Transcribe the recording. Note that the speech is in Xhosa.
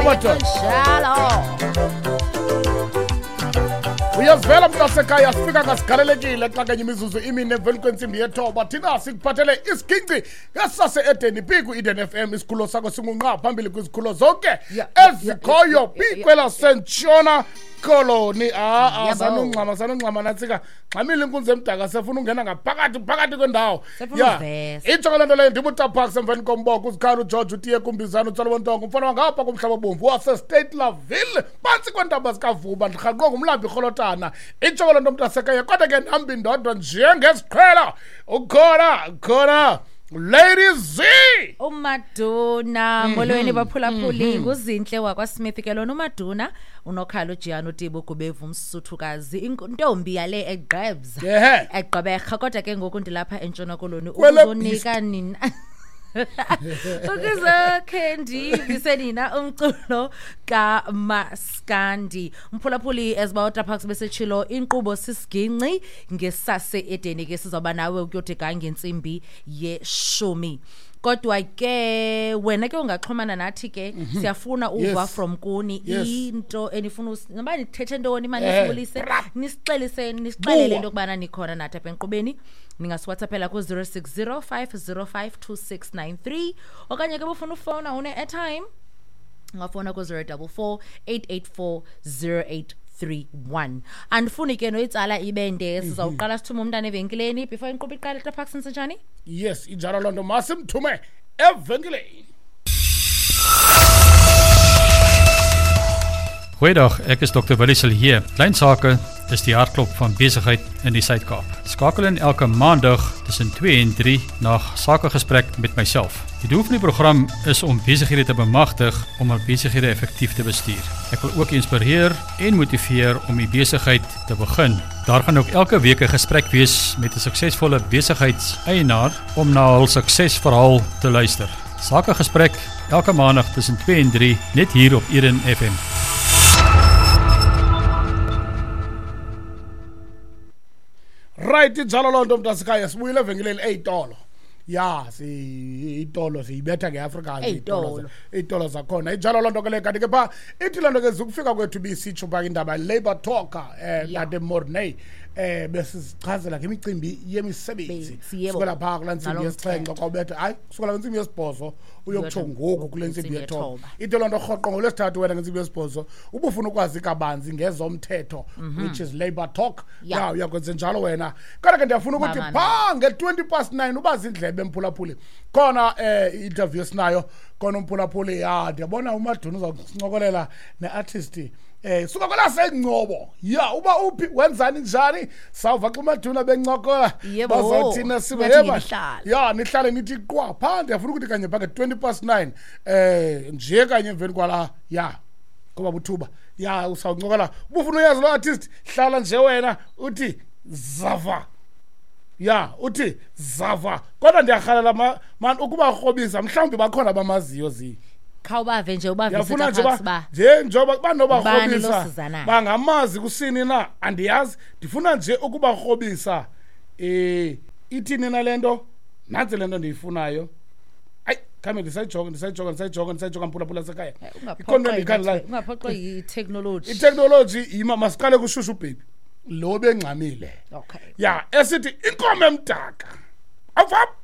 Madoda. Njalo. Uyazivela mntasekhaya, sifika ngasigalelekile xa kanye imizuzu imine emveni kwentsimbi yethoba. Thina sikuphathele isiginci ngesase-Eden phi ku-Eden FM. Isikhululo sakho singunqa phambili kwizikhulo zonke ezikhoyo phi kwelaseNtshona Koloni. Yebo. Sanungxama, sanungxama nantsika. Ngxamile inkunzi emdaka, sefuna ungena ngaphakathi phakathi kwendawo. Sefuna ukuvesa. Itsho ke loo nto leyo, ndibutaparks emveni komboko, uzikhala uGeorge utiye kumbizana uTsolo Bontongo, umfana wangapha kumhlaba obomvu waseState Laville phantsi kweentaba zikaVuba, ndirhaqwe ngumlambi irholotana. Itsho ke loo nto mntasekhaya, kodwa ke ndihamba indodwa njengeziqhelo. Ukhona khona Lady Z. Umaduna, molweni baphulaphuli, nguZinhle wakwaSmith ke lona uMaduna, unokhala uJiyana uTibo Gubevu umsuthukazi, intombi yale eGqebza. Egqeberha, kodwa ke ngoku ndilapha eNtshona Koloni Kwele ukuzonika nina, ukuzokhe ndivise nina umculo kaMaskandi. Mphulaphuli, as uba besetshilo, inkqubo sisiginci ngesase Edeni ke, sizawuba nawe ukuyode ga ngentsimbi yeshumi. Kodwa ke wena ke ungaxhumana nathi ke, siyafuna uva from kuni into enifuna noba nithethe ntoni mani, nisibulise, nisixelise, nisixelele Buwa. into yokubana nikhona nathi apha enkqubeni. Ningasiwhatsappela ku-060 505 2693, okanye ke bufuna ufowuna une-airtime, ungafowuna ku-044 884 0831. Andifuni ke noyitsala ibe nde, sizawuqala sithume umntana evenkileni before inkqubo iqale. Taparks, nsenjani? Yes, injalo loo nto, masimthume evenkileni. Goeiedag, ek is Dr. Willie Silje. Klein sake is die hartklop van besigheid in die Suid-Kaap. Skakel in elke maandag tussen 2 en 3 na Sakegesprek met myself. Die doel van die program is om besighede te bemagtig om hul besighede effektief te bestuur. Ek wil ook inspireer en motiveer om die besigheid te begin. Daar gaan ook elke week 'n gesprek wees met 'n suksesvolle besigheidseienaar om na hul suksesverhaal te luister. Sakegesprek elke maandag tussen 2 en 3 net hier op Eden FM. Right, injalo loo nto mntasekhaya, sibuyile evenkileni eyitolo. Ya, itolo siyibetha ngeAfrikaans. Eyitolo. Iy'tolo zakhona, injalo loo nto ke le. Kanti ke phaa ithi loo nto ke zikufika kwethu bisitsho phaa indaba Labour Talk, Tate Morney, besizichazela ngemicimbi yemisebenzi. Benzi, yebo. Sukela phaa kulaa ntsimbi Nalo yesixhenxe mthetho. xa ubetha, hayi, kusukela kwintsimbi yesibhozo uyokutsho Uyotha ngoku kule ntsimbi intsimbi yethoba. yethoba. Ithi loo nto rhoqo ngolwesithathu wena ngentsimbi yesibhozo ubufuna ukwazi kabanzi ngezomthetho, which is Labour Talk. Ya, uyakwenza njalo wena. Kodwa ke ndiyafuna ukuthi Bamamele. phaa nge-9:20 uba zindlebe mphulaphuli, khona i-interview esinayo khona umphulaphuli. Ya, ndiyabona uMaduna uza kusincokolela ne-artist suka kwelaseNgcobo. Ya, uba uphi, wenzani, njani, sawuva xa uMaduna bencokola. Yebo. Bazawuthina sibe Ngathi yeba. ngenihlala. Ya, nihlale nithi qwa phaa. Ndiyafuna ukuthi kanye phaa nge-9:20 nje kanye emveni kwala, ya, ngoba buthuba, ya, usawuncokola. Ubufuna uyazi loo artist, hlala nje wena uthi zava, ya, uthi zava. Kodwa ndiyarhalela mani ukubakrobisa, mhlawumbi bakhona abamaziyo zi. Khawubave nje, ubavise. Ndiyafuna nje Taparks ba ba nje njengoba Ubani banobakrobisa lo sizanayo? bangamazi kusini na, andiyazi. Ndifuna nje ukubakrobisa. Ithini na le nto? Nantsi le nto ndiyifunayo. Hayi, khame ndisayijonga, ndisayijonga, ndisayijonga, ndisayijonga, mphulaphula sekhaya. Ikhona into endiyikhangelayo. Ungaphoxwa yitheknoloji. Itheknoloji yima. Masiqale kushushu baby lo bengxamile. Okay. Ya, esithi inkomo emdaka awuvapha.